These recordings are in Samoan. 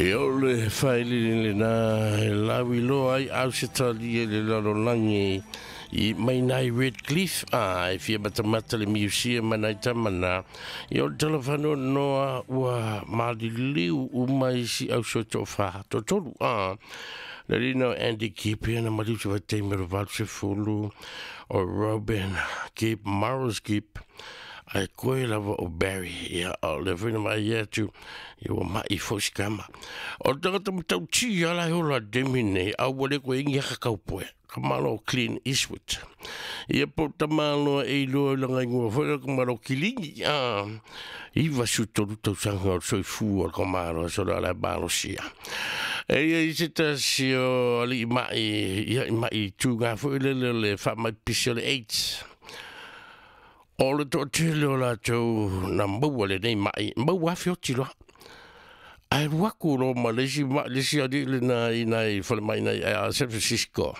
E o le whaelili le nā e lawi loa ai au se tali e le lalolagi i mai nai Redcliffe a e fia matamata le museum nai tamana i o le telefano noa ua maliliu uma isi au so to fa to tolu a le lina o Andy Gibb na maliu se vai me ro se fulu o Robin Gibb Morris Gibb ai koe lava o Barry ia o le whina mai ia tu ia ua mai fo sikama o tangata matau ti ala he ola demi nei au wale koe ingi haka kaupoe ka malo Clint Eastwood ia po tamalo e iloa langa ingoa foi ka malo Kilingi a iwa su tolu tausaga o soifua o ka malo so la malo sia e ia i se tasi o ali mai ia i mai tū ngā foi le le le wha mai pisi o le AIDS. O le to tele o lātou na maua le nei mai, maua afi o tilo. Ai ruaku ro ma le si ma le si ali le na i nai whale mai nai a San Francisco.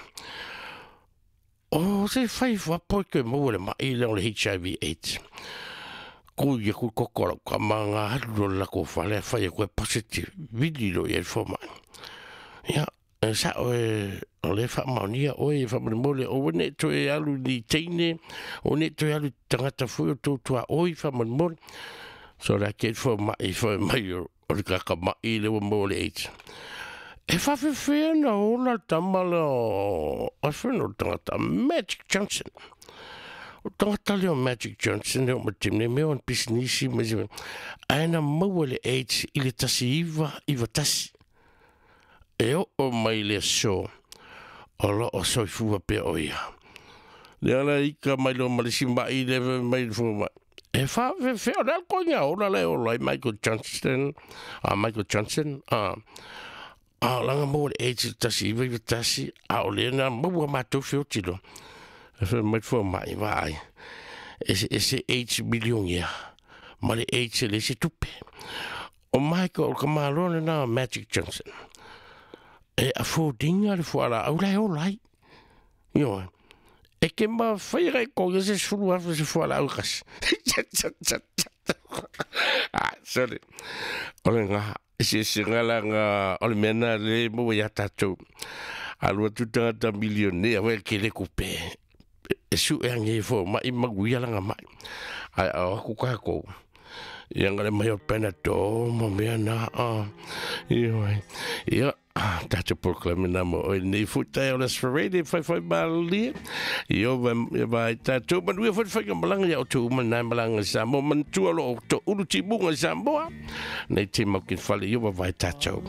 O se whai whapo ke maua le mai le o le HIV AIDS. Ko ia ku kokoro ka manga haru la ko whale whai e koe positive vili lo ia fo mai. Ia, e sa o e o le wha maunia oe e wha mole o wene to e alu ni teine o ne to e alu tangata fui o tō tua oi wha mole. So la ke fo mai fo mai o le kaka mai le o mole AIDS. E whawhiwhia na ola tamala o a whenua tangata Magic Johnson. O tangata leo Magic Johnson leo ma timne mea o pisinisi ma si aina maua le AIDS i le tasi iwa iwa tasi. E o o mai le so o lo o soifua pe o ia. Le ala ika mai lo malisi mai le mai le fo mai. E wha fe fe o le konya ola le ola i Michael Johnson. A Michael Johnson. A langa maua le AIDS i tasi iwa iwa tasi. A o le na maua mātou fe o tilo. E fe mai fo mai vai. E se AIDS milion ia. Ma le AIDS le se tupe. O Michael o kamalone na Magic Johnson. E a fōdinga le fuala au lai o lai. Io, e ke ma whaira e konga se sulu afu se fuala au kasi. Ah, sorry. O le ngā, se se ngā la ngā, o le mena le maua ia tātou. Alua tu tangata milionea, wea ke le kupe. E su e ange fo, mai maguia langa mai. Ai, au aku kākou. Ia ngā le mai o pena tō, ma mea nā, io, ia, tātou proclamina mo oi nei futai o les ferede whai whai malia. Io vai tātou manuia whai whai malanga ia o tō uma nai malanga Samoa mantua lo o tō ulu timunga Samoa. Nei te maukin whale io vai tātou.